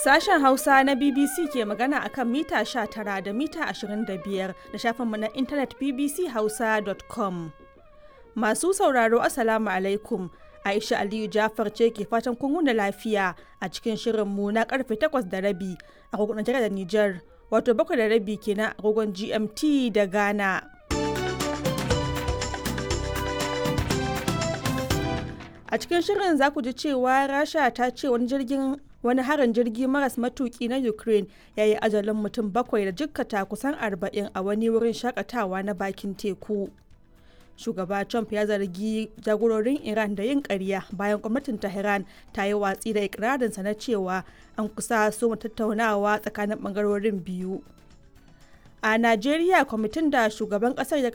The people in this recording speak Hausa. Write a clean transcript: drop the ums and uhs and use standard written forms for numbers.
Sashen Hausa na BBC ke magana akan mita 19 da mita 25 da shafinmu na intanet bbchausa.com. Masu sauraro, Assalamu alaikum. Aisha Aliyu Jafar ce ke fatan kun wuni lafiya a cikin shirinmu na karfe 8:30 agogon Najeriya da Nijar, wato 7:30 kenan agogon GMT da Ghana. A cikin shirin za ku ji cewa Rasha ta ce wani jirgin wani harin jirgi maras matuki na Ukraine ya yi ajalin mutum bakwai da jikkata kusan 40 a wani wurin shakatawa na bakin teku. Shugaba Trump ya zargi jagororin Iran da yin ƙarya bayan gwamnatin Tehran ta yi watsi da ikirarinsa na cewa an kusa soma tattaunawa tsakanin bangarorin biyu. A Najeriya, kwamitin da shugaban ƙasar ya